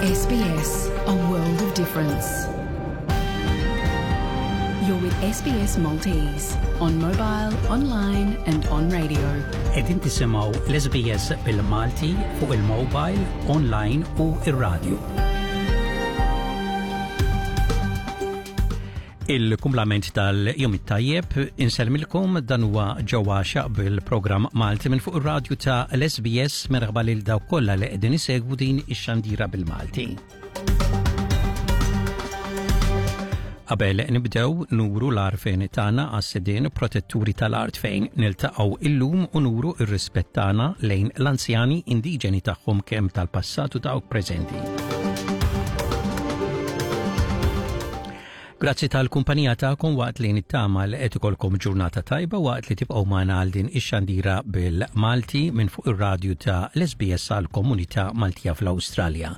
SBS, a world of difference. You're with SBS Maltese on mobile, online and on radio. Qegħdin tisimgħu l-SBS bil-Malti fuq il-mobile, online u ir-radio. Il-kumplament tal-jum it-tajjeb insellmilkom dan huwa ġewwa xaq bil-programm Malti minn fuq ir-radju ta' l-SBS merħba lil dawk kollha li qegħdin isegwu din ix-xandira bil-Malti. Qabel nibdew nuru l-għarfien tagħna għas-sidien protetturi tal-art fejn niltaqgħu illum u nuru r-rispett tagħna lejn l-anzjani indiġeni tagħhom kemm tal-passat u dawk preżenti. Grazzi tal-kumpanija tagħkom waqt li nittama li qed ikolkom ġurnata tajba waqt li tibqgħu magħna għal din ix-xandira bil-Malti minn fuq ir-radju ta' l-SBS għal komunità Maltija fl-Awstralja.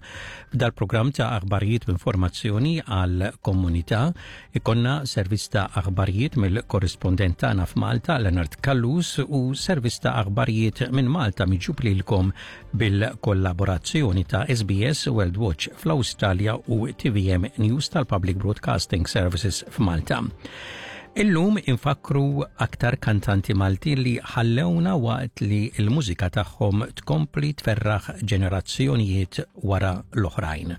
F'dal-programm ta' aħbarijiet u informazzjoni għal komunità ikonna servizz ta' aħbarijiet mill-korrispondent tagħna f'Malta Leonard Callus u servizz ta' aħbarijiet minn Malta miġjub lilkom bil-kollaborazzjoni ta' SBS World Watch fl-Awstralja u TVM News tal-Public Broadcasting Services f'Malta. Illum infakru aktar kantanti Maltin li ħallewna waqt li l-mużika tagħhom tkompli tferraħ ġenerazzjonijiet wara l-oħrajn.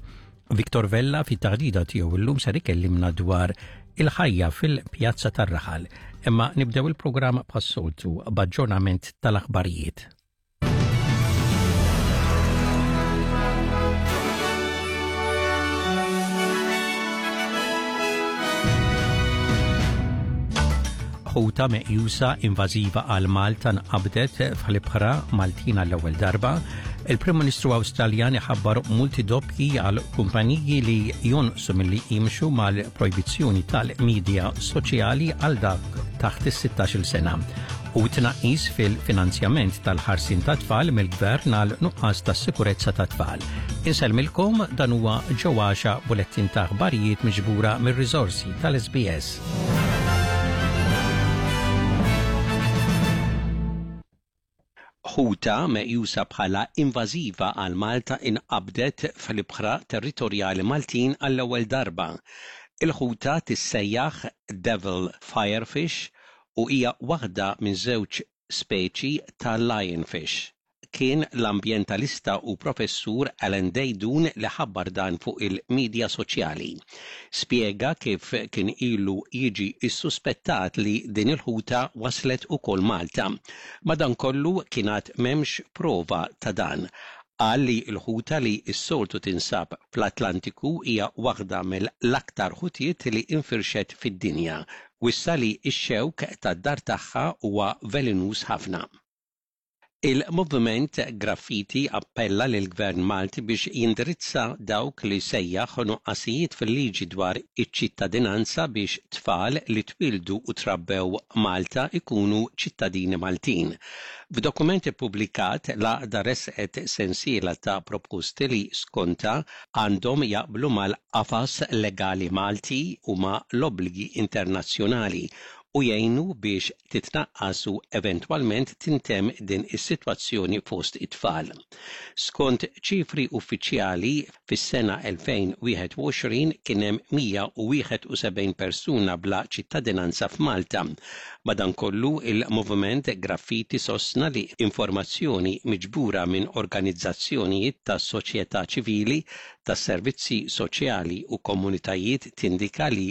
Victor Vella fit-taħdida tiegħu illum ser ikellimna dwar il-ħajja fil-pjazza tar-raħal. Imma nibdew il-programm bħas-soltu b'aġġornament tal-aħbarijiet. Ħuta meqjusa invażiva għal Malta nqabdet fl-ibħra Maltin għall-ewwel darba. Il-Prim Ministru Awstraljan iħabbar multi doppji għal kumpaniji li jonqsu milli jimxu mal-projbizzjoni tal-medja soċjali għal dak taħt is-16-il sena u tnaqqis fil-finanzjament tal-ħarsien tat-tfal mill-Gvern għal nuqqas ta' sikurezza tat-tfal. Insellmilkom dan huwa ġewwaxa bulettin ta' aħbarijiet miġbura mir-riżorsi tal-SBS. Ħuta meqjusa bħala invażiva għal Malta inqabdet fl-ibħra territorjali Maltin għall-ewwel darba. Il-ħuta tissejjaħ Devil Firefish u hija waħda minn żewġ speċi ta' lionfish. Kien l-ambjentalista u professur Alan Deidun li ħabbar dan fuq il-midja soċjali. Spjega kif kien ilu jiġi ssuspettat li din il-ħuta waslet ukoll Malta. Madankollu kien għad m'hemmx prova ta' dan. Qal li l-ħuta li s-soltu tinsab fl-Atlantiku hija waħda mill-aktar ħutiet li infirxet fid-dinja. Wissa li x-xewk tad-dar tagħha huwa velenuż ħafna. Il-Moviment Graffiti appella lill-Gvern Malti biex jindirizza dawk li sejjaħ nuqqasijiet fil-liġi dwar iċ-ċittadinanza biex tfal li twieldu u trabbew Malta jkunu ċittadini Maltin. F'dokument ippubblikat, l-għaqda ressqet sensiela ta' proposti li skontha għandhom jaqblu mal-qafas legali Malti u ma' l-obbligi internazzjonali u jgħinu biex titnaqqas u eventwalment tintemm din is-sitwazzjoni fost it-tfal. Skont ċifri uffiċjali, fis-sena 2021 kien hemm 171 persuna bla ċittadinanza f'Malta. Madankollu, il-Moviment Graffiti sostna li informazzjoni miġbura minn organizzazzjonijiet tas-soċjetà ċivili, tas-servizzi soċjali u komunitajiet tindika li.